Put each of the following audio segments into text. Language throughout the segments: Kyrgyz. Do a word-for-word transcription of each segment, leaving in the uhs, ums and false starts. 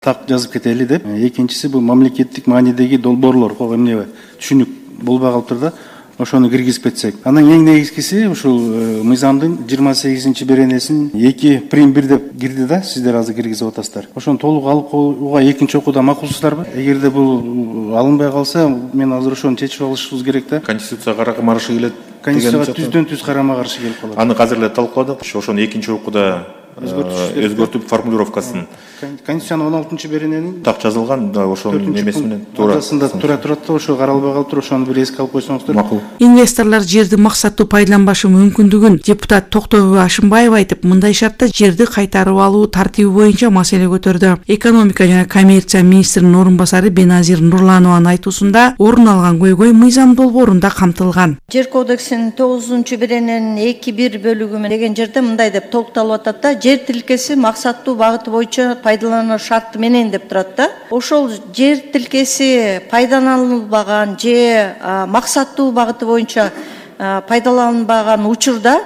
Так жазып кетели деп. Экинчиси бул мамлекеттик маанидеги долбоорлор, эмне түшүнүк болбой калыптыр да. Ошону киргизип кетсек. Анан эң негизгиси ушул мыйзамдын жыйырма сегизинчи беренесин эки прим бир деп кирди да, сиздер азыр киргизип атасыздар. Ошону толук алып коюуга экинчи окууда макулсуздарбы? Эгерде бул алынбай калса, мен азыр ошону чечип алышыбыз керек да. Конституцияга карама каршы келет. Конституцияга түздөн түз карама каршы келип калат. Аны азыр эле талкууладык. Ошону экинчи окууда өзгөртүп формулировкасын. Конституциянын он алтынчы берененин так жазылган, ошонун эмеси менен туура. Туура тура турат да, ошо каралбай калыптыр, ошону бир эске алып койсоңуздар. Макул. Инвесторлор жерди максаттуу пайдаланбашы мүмкүндүгүн депутат Токтобой Ашымбаев айтып, мындай шартта жерди кайтарып алуу тартиби боюнча маселе көтөрдү. Экономика жана коммерция министринин орун басары Беназир Нурланованын айтуусунда орун алган көйгөй мыйзам долбоорунда камтылган. Жер кодексинин тогузунчу берененин эки бир бөлүгү деген жерде мындай деп толукталып атат да: жер тилкеси максаттуу багыты боюнча пайдалануу шарты менен деп турат да. Ошол жер тилкеси пайдаланылбаган же максаттуу багыты боюнча пайдаланылбаган учурда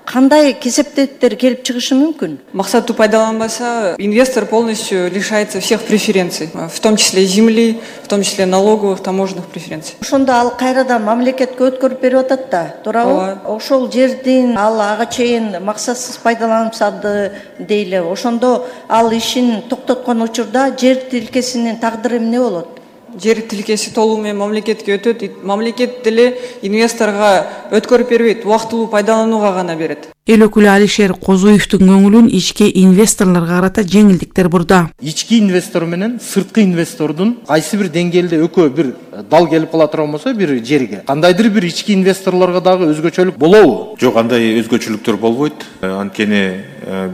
кандай кесептеттер келип чыгышы мүмкүн? Максаттуу пайдаланбаса, инвестор полностью лишается всех преференций, в том числе земли, в том числе налоговых, таможенных преференций. Ошондо ал кайрадан мамлекетке өткөрүп берип атат да, туурабы? Ошол жердин ал ага чейин максатсыз пайдаланылса дейле, ошондо ал ишин токтоткон учурда жер тилкесинин тагдыры эмне болот? Жер тилкеси толугу менен мамлекетке өтөт. Мамлекет деле инвесторго өткөрүп бербейт, убактылуу пайдаланууга гана берет. Эл өкүлү Алишер Козуевдин көңүлүн ички инвесторлорго карата жеңилдиктер бурду. Ички инвестор менен сырткы инвестордун кайсы бир деңгээлде экөө бир дал келип кала турган болсо бир жерге, кандайдыр бир ички инвесторлорго дагы өзгөчөлүк болобу? Жок, андай өзгөчөлүктөр болбойт. Анткени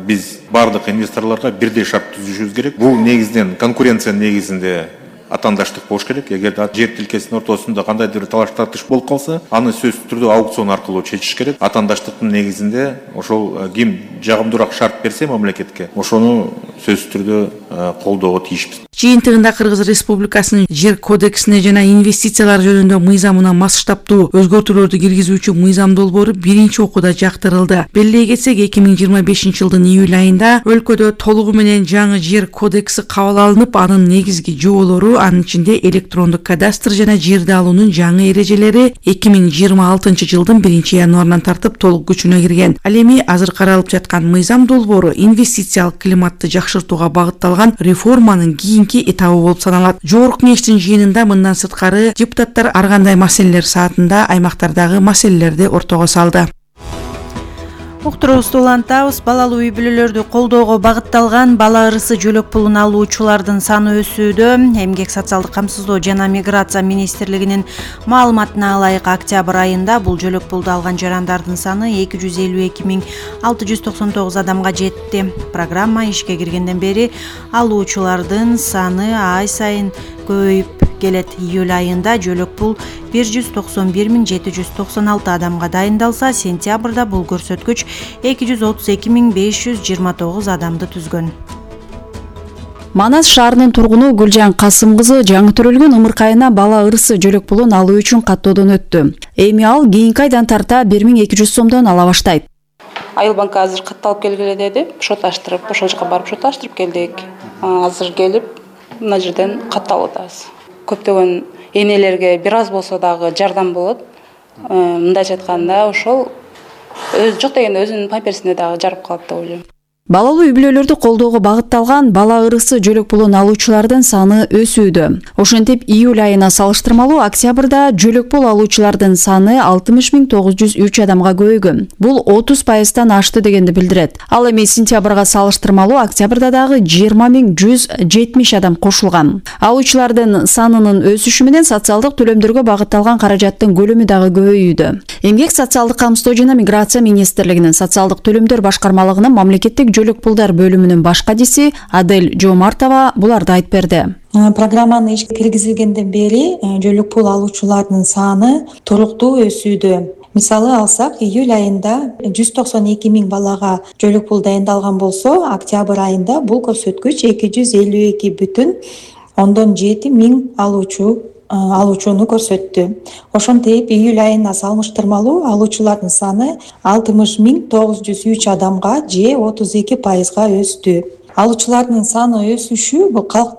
биз бардык инвесторлорго бирдей шарт түзүшүбүз керек. Бул негизинен конкуренция негизинде атандаштык болуш керек. Эгер жер тилкесинин ортосунда кандайдыр бир талаш тартыш болуп калса, аны сөзсүз түрдө аукцион аркылуу чечиш керек. Атандаштыктын негизинде ошол ким жагымдуураак шарт берсе мамлекетке, ошону сөзсүз түрдө колдоого тийишпиз. Жыйынтыгында Кыргыз Республикасынын жер кодексине жана инвестициялар жөнүндө мыйзамына масштабтуу өзгөртүүлөрдү киргизүүчү мыйзам долбоору биринчи окууда жактырылды. Белгилей кетсек, эки миң жыйырма бешинчи жылдын июль айында өлкөдө толугу менен жаңы жер кодекси кабыл алынып, анын негизги жоболору, анын ичинде электрондук кадастр жана жерди алуунун жаңы эрежелери эки миң жыйырма алтынчы жылдын биринчи январынан тартып толук күчүнө кирген. Ал эми азыр каралып жаткан мыйзам долбоору инвестициялык климатты жакшыртууга багытталган реформанын кийинки этабы болуп саналат. Жогорку кеңештин жыйынында мындан сырткары депутаттар ар кандай маселелер саатында аймактардагы маселелерди ортого салды. Уктуруубузду улантабыз. Балалуу үй бүлөлөрдү колдоого багытталган бала ырысы жөлөк пулун алуучулардын саны өсүүдө. Эмгек социалдык камсыздоо жана миграция министрлигинин маалыматына ылайык октябрь айында бул жөлөк пулду алган жарандардын саны эки жүз элүү эки миң алты жүз токсон тогуз адамга жетти. Программа ишке киргенден бери алуучулардын саны ай сайын көбөйүп келет. Июль айында жөлөк пул бир жүз токсон бир миң жети жүз токсон алты адамга дайындалса, сентябрда бул көрсөткүч эки жүз отуз эки миң беш жүз жыйырма тогуз адамды түзгөн. Манас шаарынын тургуну Гүлжан Касым кызы жаңы төрөлгөн ымыркайына бала ырысы жөлөк пулун алуу үчүн каттоодон өттү. Эми ал кийинки айдан тарта бир миң эки жүз сомдон ала баштайт. Айыл банкы азыр катталып келгиле деди. Шот аштырып, ошол жака барып шот аштырып келдик. Азыр келип мына жерден катталып атабыз. Көптөгөн энелерге бир аз болсо дагы жардам болот. Мындайча айтканда, ошол өз жок дегенде өзүнүн памперсине дагы жарып калат деп ойлойм. Балалуу үй бүлөлөрдү колдоого багытталган бала ырысы жөлөк пулун алуучулардын саны өсүүдө. Ошентип, июль айына салыштырмалуу октябрда жөлөк пул алуучулардын саны алтымыш миң тогуз жүз үч адамга көбөйгөн. Бул отуз пайыздан ашты дегенди билдирет. Ал эми сентябрга салыштырмалуу октябрда дагы жыйырма миң жүз жетимиш адам кошулган. Алуучулардын санынын өсүшү менен социалдык төлөмдөргө багытталган каражаттын көлөмү дагы көбөйүүдө. Эмгек социалдык камсыздоо жана миграция министрлигинин социалдык төлөмдөр башкармалыгынын мамлекеттик жөлөк пулдар бөлүмүнүн баш кадиси Адель Жомартова буларды айтып берди. Программаны ишке киргизилгенден бери жөлөк пул алуучулардын саны туруктуу өсүүдө. Мисалы алсак, июль айында жүз токсон эки миң балага жөлөк пул дайындалган болсо, октябрь айында бул көрсөткүч эки жүз элүү эки бүтүн ондон жети миң алуучу алуучуну көрсөттү. Ошентип, июль айына салыштырмалуу алуучулардын саны алтымыш миң тогуз жүз үч адамга же отуз эки пайызга өстү. алуучулардын саны өсүшү бул калктын